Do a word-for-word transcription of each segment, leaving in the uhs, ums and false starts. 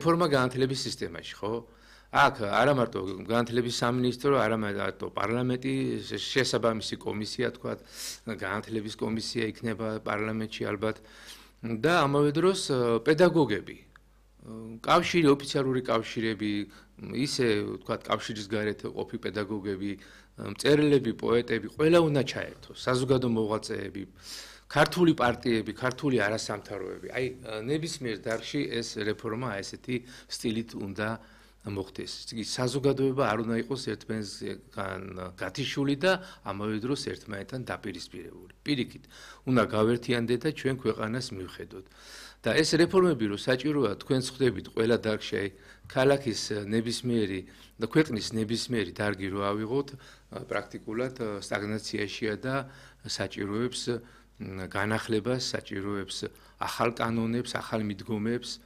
რეფორმა განათლების სისტემაში, ხო? აქ არა მარტო განათლების სამინისტრო, არა მარტო პარლამენტი, შესაბამისი კომისია, თქვა, განათლების კომისია იქნება პარლამენტში ალბათ და ამავე დროს პედაგოგები. კავშირი, ოფიციალური კავშირები, ისე თქვა, კავშირის გარეთ ყოფი პედაგოგები, მწერლები, პოეტები, ყველა უნდა ჩაერთოს, საზოგადო მოღვაწეები, ქართული პარტიები, ქართული არასამთავროები. აი, ნებისმიერ დარგში ეს რეფორმა ესეთი სტილით უნდა მოხდეს. იგი საზოგადოება არ უნდა იყოს ერთმანეთთან გათიშული და ამავე დროს ერთმანეთთან დაპირისპირებული. პირიქით, უნდა გავერთიანდეთ და ჩვენ ქვეყანას მივხედოთ. და ეს რეფორმები რო საჭიროა, თქვენც ხვდებით ყველა დარგში, აი, ქალაქის ნებისმიერი და ქვეყნის ნებისმიერი დარგი რო ავიღოთ, პრაქტიკულად სტაგნაციაშია და საჭიროებს განახლებას, საჭიროებს ახალ კანონებს, ახალ მიდგომებს.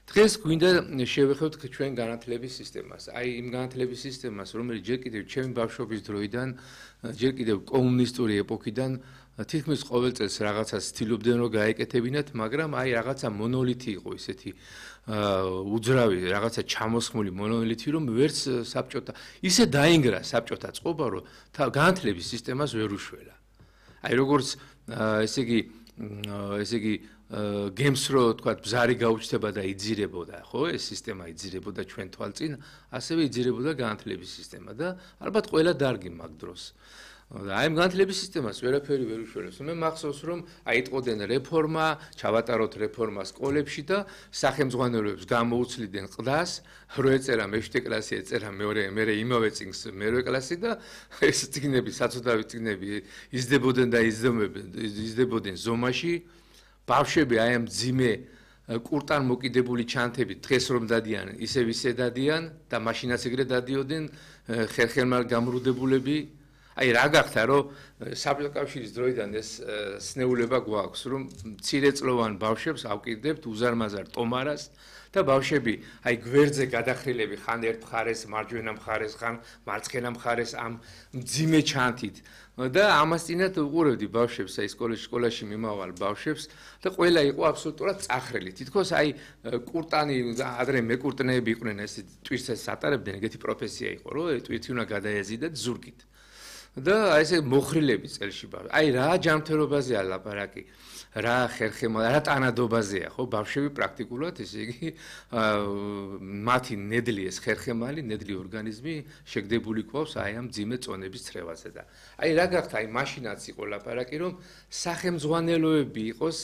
დღეს გვინდა შევეხოთ ჩვენ განათლების სისტემას. აი იმ განათლების სისტემას, რომელიც ჯერ კიდევ ჩემი ბავშვობის დროიდან, ჯერ კიდევ კომუნისტური ეპოქიდან თითქმის ყოველ წელს რაღაცას ცდილობდნენ რომ გაეკეთებინათ, მაგრამ აი რაღაცა მონოლითი იყო ისეთი უძრავი, რაღაცა ჩამოსხმული მონოლითი, რომ ვერც საბჭოთა ისე დაინგრა საბჭოთა წყობა, რომ განათლების სისტემას ვერ უშველა. აი როგორც ესე იგი ესე იგი გემს რო თქვა ბზარი გაუჩნდება და იძირებოდა, ხო, ეს სისტემა იძირებოდა ჩვენ თვალწინ, ასევე იძირებოდა განათლების სისტემა და ალბათ ყველა დარგი მაგ დროს. აი ამ განათლების სისტემას ვერაფერი ვერ უშველებს. მე მახსოვს რომ აიტყოდნენ რეფორმა, ჩავატაროთ რეფორმა სკოლებში და სახელმძღვანელოებს გამოუცლიდნენ ყდას, რო ეწერა მეშვიდე კლასი, ეწერა მეორე, მერე იმავე წიგნს მერვე კლასი და ეს წიგნები, საცოდავი წიგნები იზრდებოდნენ და იზრდებოდნენ ზომაში. ბავშვები აი ამ ძიმე კურტან მოკიდებული ჩანთებით დღეს რომ დადიან, ისევ ისე დადიან და მაშინაც ეგრე დადიოდნენ ხერხემალ გამრუდებულები. აი რა გახდა რომ საბჭოთა კავშირის დროიდან ეს სნეულება გვაქვს რომ მცირეწლოვან ბავშვებს ავკიდდებთ უზარმაზარ ტომარას და ბავშვები აი გვერდზე გადახრილები ხან ერთ მხარეს მარჯვენა მხარეს ხან მარცხენა მხარეს ამ მძიმე ჩანთით და ამასწინათ უყურებდი ბავშვებს აი სკოლაში სკოლაში მიმავალ ბავშვებს და ყველა იყო აბსოლუტურად წახრილი თითქოს აი კურტანი ადრე მეკურტნეები იყვნენ ეს ტვირთს ატარებდნენ ეგეთი პროფესია იყო რომ ტვირთი უნდა გადაეზიდათ ზურგით და აი ესე მოხრილები წელში ბავშვი. აი რა ჯანმრთელობაზეა ლაპარაკი, რა ხერხემალ, რა ტანადობაზეა, ხო, ბავშვები პრაქტიკულად ესე იგი მათი ნედლი ეს ხერხემალი, ნედლი ორგანიზმი შეგდებული ყავს აი ამ ძიმე წონების ცრევაზე და აი რა გახდა, აი მაშინაც იყო ლაპარაკი, რომ სახელმძღვანელოები იყოს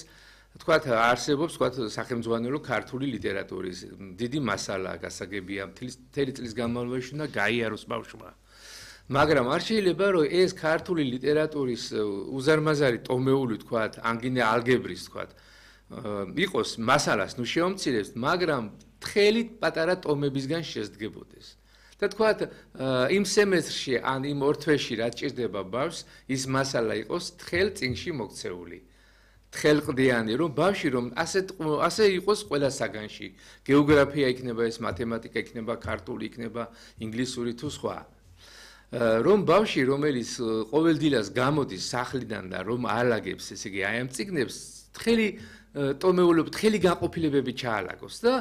თქვათ არსებობს თქვათ სახელმძღვანელო ქართული ლიტერატურის დიდი მასალა გასაგებია მთელი წლის განმავლობაში და გაიაროს ბავშვმა. მაგრამ არ შეიძლება რომ ეს ქართული ლიტერატურის უზარმაზარი ტომეული თქვათ ანგინე ალგებრის თქვათ იყოს მასალას ნუ შეომცირებს მაგრამ თხელი პატარა ტომებისგან შესდგებოდეს და თქვათ იმ სემესტრში ან იმ ორ თვეში რაც ჭირდება ბავშვს ის მასალა იყოს თხელ წიგნში მოქცეული თხელყდიანი რომ ბავშვი რომ ასე ასე იყოს ყველა საგანში გეოგრაფია იქნება ეს მათემატიკა იქნება ქართული იქნება ინგლისური თუ სხვა რომ ბავშვი რომელიც ყოველდღიურად გამოდის სახლიდან და რომ აალაგებს ესე იგი აი ამ წიგნებს თხელი ტომეულობ თხელი განყოფილებები ჩაალაგოს და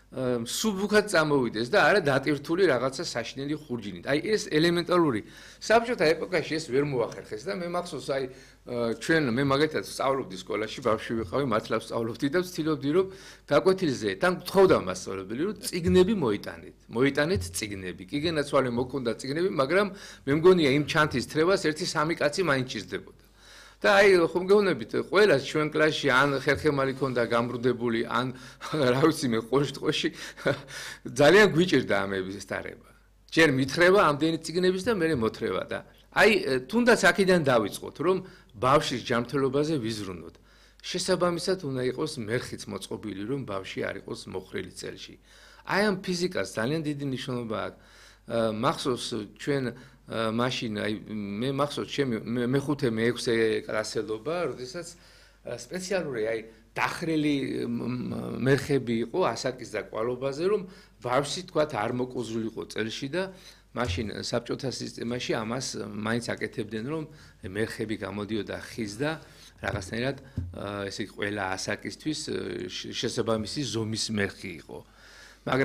სუბუქად წამოვიდეს და არა დატვირთული რაღაცა საშინელი ხურჯინით. აი ეს ელემენტარული საბჭოთა ეპოქაში ეს ვერ მოახერხეს და მე მახსოვს აი ჩვენ მე მაგათაც სწავლობდი სკოლაში ბავშვი ვიყავი მართლა სწავლობდი და ვცდილობდი რომ გაკვეთილზე თან გთხოვდა მასწავლებელი რომ წიგნები მოიტანეთ. მოიტანეთ წიგნები. კიგენაცვალე მოკონდა წიგნები, მაგრამ მე მგონია იმ ჩანთის თრევას ერთი სამი კაცი მაინც ჭირდებოდა. და აი ხომ გეუბნებით ყველა ჩვენ კლასში ან ხერხემალი ქონდა გამრუდებული ან რა ვიცი მე ყოშტყოში ძალიან გვიჭირდა ამების დარება. ჯერ მითხრება ამდენი წიგნების და მე მოთხრება და აი თუნდაც აქედან დავიწყოთ რომ ბავშვის ჯანმრთელობაზე ვიზრუნოთ. შესაბამისად უნდა იყოს მერხიც მოწყობილი რომ ბავშვი არ იყოს მოხრილი წელში. აი ამ ფიზიკას ძალიან დიდი მნიშვნელობა აქვს. მახსოვს ჩვენ მაშინ აი მე მახსოვს ჩემი მეხუთე მეექვსე კლასელობა, როდესაც სპეციალური აი დახრილი მერხები იყო ასაკის და კვალობაზე, რომ ბავშვი თქვათ არ მოკუზულიყო წელში და მაშინ საბჭოთა სისტემაში ამას მაინც აკეთებდნენ, რომ მერხები გამოდიოდა ხის და რაღაცნაირად ესე ყველა ასაკისთვის შესაბამისი ზომის მერხი იყო.